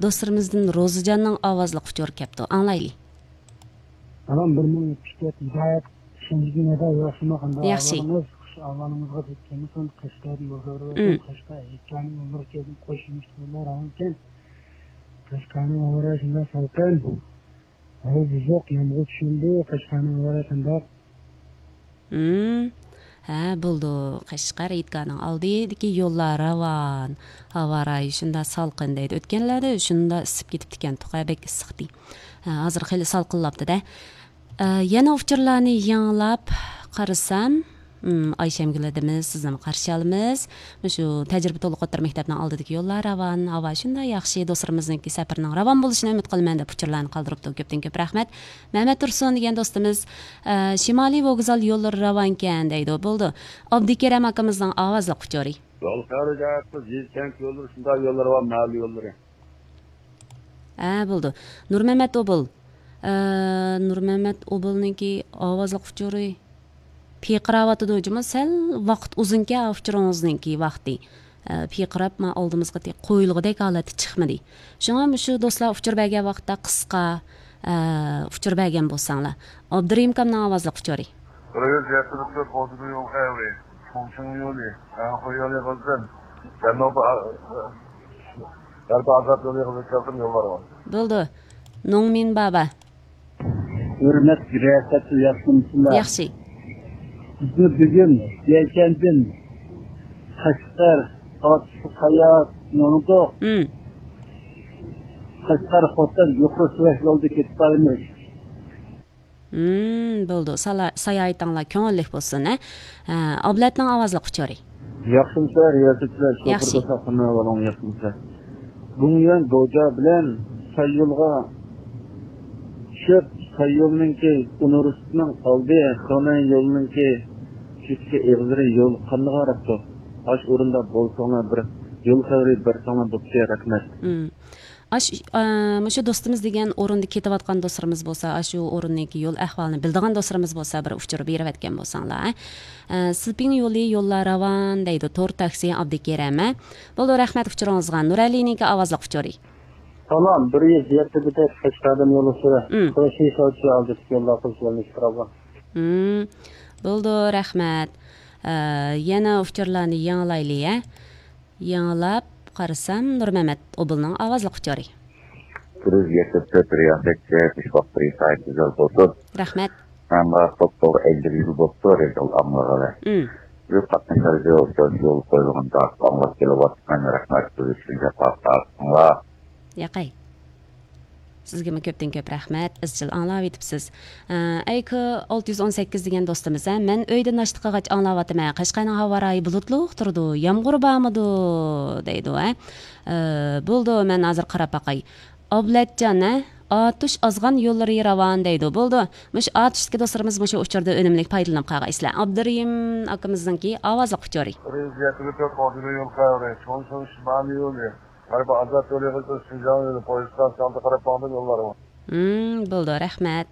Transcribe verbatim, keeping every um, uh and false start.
دوستلىرىمىزدىن روزىجاننىڭ ئاۋازلىق ئۇچۇرى كەپتۇ. ئاڭلايلى. سالام، بىر مىڭ يەتمىش تۆت ھىدايەت شىنجىدىن ئەدە ياخشىما قانداق ياخشى. ئەھۋالىڭىز؟ خۇش ئەھۋالىڭىزغا زىت كەلمىسۇن. قەشقەردىن يولدا بېرىۋاتىمەن. مم. قەشقەر ھېيتگاھنىڭ يوللىرى كەلدىم، قوش يېمىش يوللار راۋانكەن. قەشقەرنىڭ ھاۋا رايى شۇنداق سالقىن. ھاۋا بۇزۇق، يامغۇر چۈشۈمدۇ. قەشقەرنىڭ ھاۋا رايى قانداق؟ مم. ھە، بولىدۇ. قەشقەر ھېيتگاھنىڭ ئالدىدىكى يوللار راۋان. ھاۋا رايى شۇنداق سالقىن دەيدۇ. ئۆتكەنلەردە شۇنداق ئىسسىپ كېتىپتىكەن، توقا بەك ئىسسىقتى. ھە، ھازىر خېلى سالقىنلاپتۇ-دە. ئە، يەنە ئۇچۇرلارنى يېڭىلاپ قارىسام، مم، ئايشەمگۈل ھەدىمىز، سىزنىمۇ قارشى ئالىمىز. مۇشۇ تەجرىبە تولۇق ئوتتۇرا مەكتەپنىڭ ئالدىدىكى يوللار راۋان، ھاۋا شۇنداق ياخشى، دوستلىرىمىزنىڭكى سەپىرىنىڭ راۋان بولۇشىنى ئۈمىد قىلىمەن دەپ ئۇچۇرلارنى قالدۇرۇپتۇ. كۆپتىن كۆپ رەھمەت. مەمەت تۇرسۇن دېگەن دوستىمىز، ئە، شىمالىي ۋوگزال يوللىرى راۋانكەن دەيدۇ. بولىدۇ. ئابدۇكېرەم ئاكىمىزنىڭ ئاۋازلىق ئۇچۇرى. يول خەۋىرى جەھەتتە يېزا كەنت يوللىرى شۇنداق يوللار بار، مەھەللە يوللىرى. ھە، بولىدۇ. نۇرمەمەت ئوبۇل. ئە، نۇرمەمەت ئوبۇلنىڭكى ئاۋازلىق ئۇچۇرى پىرقىراۋاتىدۇ جۇمۇ. سەل ۋاقىت ئۇزۇنكەن ئۇچۇرىڭىزنىڭكى ۋاقتى. ئە، پىرقىراپ ما ئالدىمىزغا تېخى قويۇلغۇدەك ھالەتتە چىقمىدى. شۇڭا مۇشۇ دوستلار ئۇچۇر بەرگەن ۋاقىتتا قىسقا، ئە، ئۇچۇر بەرگەن بولساڭلار. ئابدۇرېھىم ئاكامنىڭ ئاۋازلىق ئۇچۇرى. بىر يۈز يەتتە بىر تۆت بوزۇنى يول خەۋىرى، چۇڭچىڭ يولى، ئەنخۇي يولى قىلسۇن. جەنۇبىي ئا-، غەربىي ئازاد يولى قىلسۇن، يوللار بار. بولىدۇ. نوڭمىن بابا. ھۆرمەتلىك رىياسەتچى، ياخشىمۇسىلەر؟ ياخشى. بىزنى بۈگۈن يەكەندىن قەشقەر، ئاتۇش ساياھەت يولىدۇق. مم. قەشقەر خوتەن يۇقىرى سۈرئەت يولىدا كېتىپ بارىمىز. مم، بولىدۇ. سالا-، ساياھىتىڭلار كۆڭۈللۈك بولسۇن، ھە؟ ھە، ئابلەتنىڭ ئاۋازلىق ئۇچۇرى. ياخشىمۇسىلەر، رىياسەتچىلەر، شوپۇر ياخشى. دوستلار، قانداق ئەھۋالىڭلار، ياخشىمۇسىلەر؟ بۇڭيۈەن دوجا بىلەن ساييولغا چۈشۈپ، ساييولنىڭكى ئۇنىۋېرسىتېتنىڭ ئالدى، خېنەن يولىنىڭكى چېتىكى ئېغىزلىرى يول قانداق ئاراپتۇ؟ ئاشۇ ئورۇندا بولساڭلار، بىر يول خەۋىرى بەرسەڭلار بوپتۇ، رەھمەت. مم. ئاش-، ئا، مۇشۇ دوستىمىز دېگەن ئورۇندا كېتىۋاتقان دوستلىرىمىز بولسا، ئاشۇ ئورۇننىڭكى يول ئەھۋالىنى بىلىدىغان دوستلىرىمىز بولسا، بىر ئۇچۇر بېرىۋەتكەن بولساڭلار، ھە؟ ئە، سىلپىڭ يولى، يوللار راۋان دەيدۇ، تور تاكسى، ئابدۇكېرەم، ھە؟ بولىدۇ، رەھمەت ئۇچۇرىڭىزغا. نۇرئەلىنىڭكى ئاۋازلىق ئۇچۇرى. سالام، بىر يۈز يەتتە بىر قەشقەردىن يول ئۇچۇرى. مم. قوشنى سوچى ئالدىدىكى يوللار قىلىش يولىنى ئىشقا ئالغان. مم. بولىدۇ، رەھمەت. ئە، يەنە ئۇچۇرلارنى يېڭىلايلى، ھە؟ يېڭىلاپ قارىسام، نۇرمەمەت ئوبۇلنىڭ ئاۋازلىق ئۇچۇرى. بىر يۈز يەتتە تۆت رىياسەتچى، ئىش ۋاقتى سائەت گۈزەل بولسۇن. رەھمەت. مەن بۇ توپتوغرا ئەللىك يىل بوپتۇ، رېدىيو ئاڭلىغىلى. ئم. بۇ قاتنىشلاردا ئۇچرىشىش يولى قويۇلغان تاقىت ئاڭلاپ كېلىۋاتىمەن. رەھمەت، سىز ئۈچۈن جاپا تارتىڭلار. ياقەي. سىزگىمۇ كۆپتىن كۆپ رەھمەت، ئىزچىل ئاڭلاۋېتىپسىز. ئە، ئەيكو ئالتە يۈز ئون سەككىز دېگەن دوستىمىز، ھە، مەن ئۆيدە ناشتا قىلغاچ ئاڭلاۋاتىمەن. قەشقەرنىڭ ھاۋا رايى بۇلۇتلۇق تۇرىدۇ، يامغۇر بارمىدۇ؟ دەيدۇ، ھە. ئە، بولىدۇ، مەن ھازىر قاراپ باقاي. ئابلەتجان، ھە؟ ئاتۇش ئازغان يوللىرى راۋان دەيدۇ. بولىدۇ. مۇشۇ ئاتۇشتىكى دوستلىرىمىز مۇشۇ ئۇچۇردا ئۈنۈملۈك پايدىلىنىپ قالغايسىلەر. ئابدۇرېھىم ئاكىمىزنىڭكى ئاۋازلىق ئۇچۇرى. بىر يۈز يەتتە بىر تۆت ئوردىنى يول خەۋىرى، چوڭشىڭ شىمالىي يولى، غەربىي ئازاد يولى قىلسا شىنجاڭ يولى، پويىز ئىستانسىسى ئالدىغا قاراپ ماڭىدۇ يوللار. ھىم، بولىدۇ، رەھمەت.